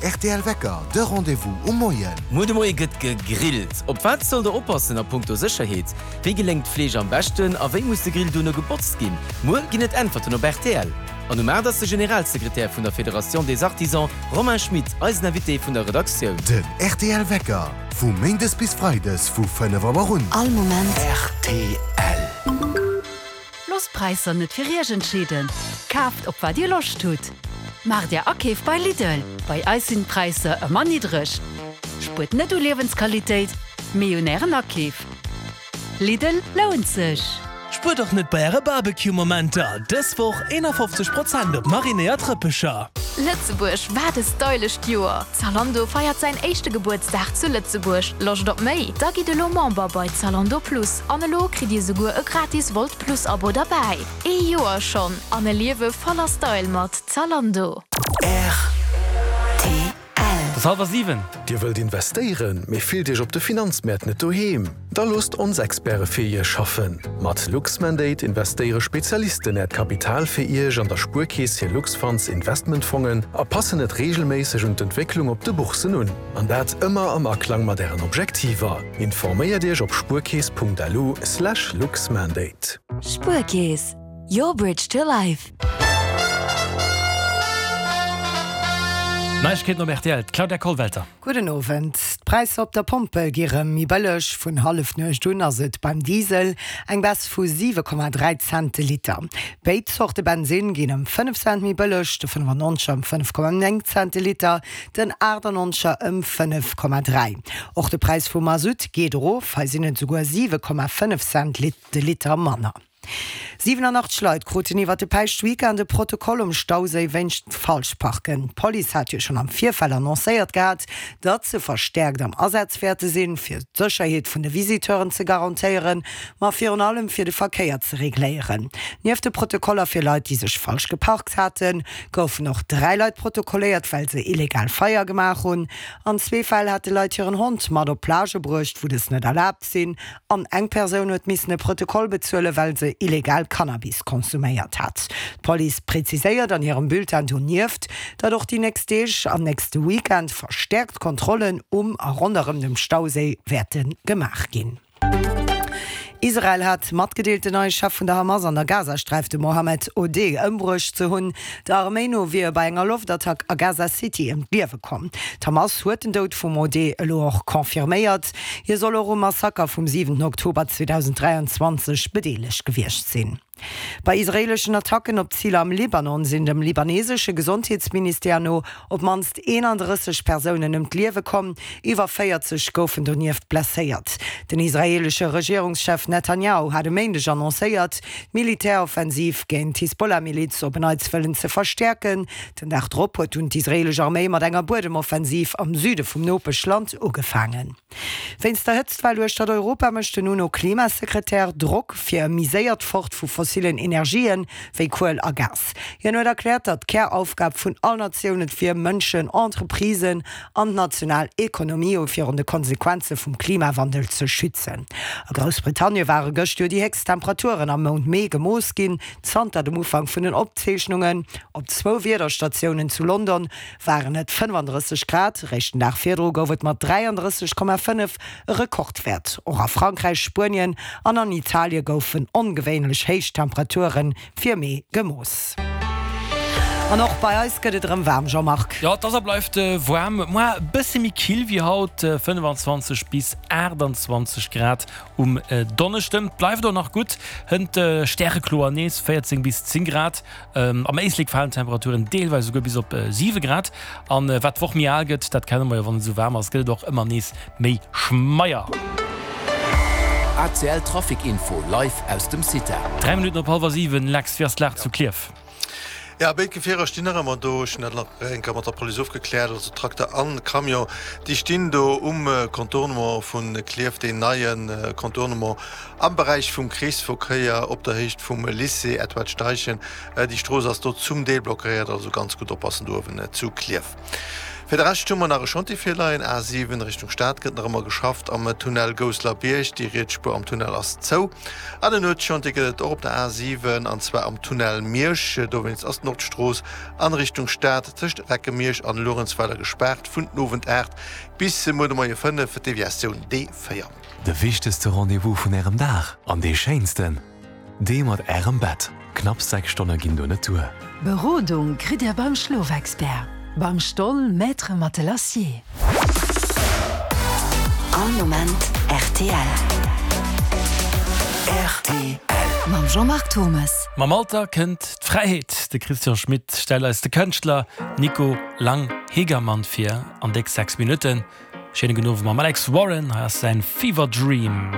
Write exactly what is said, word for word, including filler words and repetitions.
Den rtl Wecker, de Rendez-vous um Moien. Muer de Moie gëtt gegrillt. Op wat sollt der oppassen a punkto Sécherheet? Wéi geléngt d'Fleesch am beschten a wéi muss de Grill duerno gebotzt ginn? Muer ginn et Äntwerten op rtl. An um aacht ass de Generalsekretär vun der Fédération des Artisans, Romain Schmit, eisen Invité vun der Redaktioun. Den rtl Wecker, vu méindes bis freides vu fënnef Auer un. All Moment. Rtl. Loosst d'Präisser net fir Iech entscheeden, kaaft op wat Dir Loscht hutt. Maacht Är Akeef bei Lidl, bei eis sinn d'Präisser ëmmer niddreg. Spuert net u Liewensqualitéit, mee un Ären Akeef. Lidl lount sech! Spuert och net bei äre Barbecue-Momenter, dës Woch eenafofzeg Prozent op marinéiert Rëppecher! Lëtzebuerg, wat e stylescht Joer! Zalando feiert säin éischte Gebuertsdag zu Lëtzebuerg. Loscht op méi? Da gitt elo Member bei Zalando Plus an elo kritt Dir souguer e gratis Wolt Plus Abo derbäi. Ee Joer schonn an e Liewe voller Style mat Zalando. Rtl. Et ass hallwer siwen. Dir wëllt investéieren, mee fillt Iech op de Finanzmäert net doheem? Da loosst ons Experte fir Iech schaffen. Mat Luxmandate investéiere Spezialisten Äert Kapital fir Iech an der Spuerkeess hir Luxfunds Investmentfongen a passen et reegelméisseg un d'Entwécklung op de Bourssen un. An dat ëmmer am Aklang mat Ären Objektiver. Informéiert Iech op spuerkeess punkt lu slash luxmandate. Spuerkeess, your bridge to life. Neiegkeeten op rtl, d'Claudia Kollwelter. Gudden Owend. D'Präisser op der Pompel gi rëm méi bëlleg. Vun Hallefnuecht un ass et beim Diesel eng Baisse vu siwe Komma dräi Cent de Liter. Béid Zorte Bensinn ginn ëm fënnef Cent méi bëlleg, de fënnefannonzeger ëm fënnef Komma néng Cent de Liter, den aachtannonzeger ëm fënnef Komma dräi. Och de Präis vum Masutt geet erof, hei sinn et esouguer siwe Komma fënnef Cent de Liter manner. siwenanachtzeg Leit kruten iwwer de Päischtweekend e Protokoll um Stauséi wéinst Falschparken. D'Police hat jo schonn am Virfeld annoncéiert gehat, datt se verstäerkt am Asaz wäerte sinn, fir d'Sécherheet vun de Visiteuren ze garantéieren, ma virun allem fir de Verkéier ze regléieren. Nieft de Protokoller fir Leit, déi sech falsch geparkt haten, goufen och dräi Leit protokolléiert, well se illegal Feier gemaach hunn. An zwee Fäll hate Leit hiren Hond mat op Plagë bruecht, wou dës net erlaabt sinn. An eng Persoun huet missen e Protokoll bezuelen, well se illegal Cannabis konsuméiert hat. D'Police präziséiert an hirem Bulletin donieft, datt och déi nächst Deeg an nächste Weekend verstäerkt Kontrollen um a ronderëm dem Stauséi wäerte gemaach ginn. Israel hat matgedeelt, den neie Chef vun der Hamas an der Gazasträif, de Mohammed Odeh, ëmbruecht ze hunn. Der Arméi no wier e bei enger Loftattack a Gaza City ëm d'Liewe komm. D'Hamas huet den Doud vum Odeh elo och confirméiert. Hie soll och um Massaker vum siwenten Oktober zweedausend dräianzwanzeg bedeelegt gewiescht sinn. Bei israeeleschen Attacken op Ziler am Libanon sinn dem libanesesche Gesondheetsministère no op d'mannst eenandrësseg Persounen ëm d'Liewe komm, iwwer véierzeg goufen donieft blesséiert. Den israeelesche Regierungschef Netanjahu hat e Méindeg annoncéiert, d'Militäroffensiv géint d'Hisbollah-Miliz op en Neits wëllen ze verstäerken. Den Dag drop huet dunn d'israeelesch Arméi mat enger Buedemoffensiv am Süde vum Nopeschland ugefaangen. Wéinst der Hëtztwell uechtert Europa mécht den UNO-Klimasekretär Drock fir e méi séiert Fort vu fossillen Energien, wéi Kuel a Gas. Hien huet erkläert, datt d'Käraufgab vun all Natioun et wier, Mënschen, Entreprisen an d'national Ekonomie virun de Konsequenze vum Klimawandel ze schützen. A Groussbritannie ware gëscht jo déi héchst Temperaturen am Mount Mee gemooss ginn, zanter dem Ufank vun den Opzeechnungen. Op zwou Wiederstatiounen zu London waren et fënnefandrësseg Grad, réischt den Dag virdru gouf et mat dräiandrësseg Komma fënnef e Rekordwäert. Och a Frankräich, Spuenien an an Italie goufen ongewéinlech héich Temperature fir Mee gemooss. An och bei eis gëtt et erëm waarm, Jean-Marc. Jo, et ass a bleift waarm, muer e bësse méi kill wéi haut, fënnefanzwanzeg bis aachtanzwanzeg Grad um Donneschden. Et bleift och nach gutt, hënt stärekloer nees véierzéng bis zéng Grad. Am Éislek falen d'Temperaturen deelweis esouguer bis op siwe Grad. An wat d'Woch méi al gëtt, dat kenne mer jo, wann et esou waarm ass, gëtt et och ëmmer nees méi schmeier. A C L Trafic Info live aus dem CITA. Dräi Minutten op hallwer siwen, Lex, wéi ass d'Lag zu Klierf? Ja, béid Gefierer stinn nach ëmmer do. Ech hunn dat nach eng Kéier mat der Police ofgekläert. Also Trakter an Camion, déi stinn do um Contournement vu Klierf, deen neie Contournement am Beräich vum Kreesverkéier op der Héicht vum Lycée Edward Steichen. Déi Strooss ass do zum Deel blockéiert, also ganz gutt oppassen do uewen zu Klierf. Fir de Rescht hu mer nach e Chantier virleien, A siwen Richtung Stad gëtt nach ëmmer geschafft am Tunnel Gousselerbierg, déi riets Spuer am Tunnel ass zou. An en Nuetschantier gëtt et och op der A siwen, an zwar am Tunnel Miersch. Dowéinst ass d'Nordstrooss an Richtung Stad tëscht Recke-Miersch an Luerenzweiler gespaart vun den Owend aacht bis muer de Moie fënnef, Deviatioun D véier. De wichtegste Rendez-vous vun Ärem Dag an dee schéinsten, dee mat Ärem Bett. Knapps sechs Stonne ginn do net duer. Berodung kritt Dir beim Schlofexpert, beim Stoll Maître Matelassier. All Moment rtl. Rtl. Mam Jean-Marc Thommes. Mam Alter kënnt d'Fräiheet. De Christian Schmit stellt eis de Kënschtler Nico Lang-Hegermann vir an déck sechs Minutten. Schéine gudden Owend mam Alex Warren. Hei ass säin Fever Dream.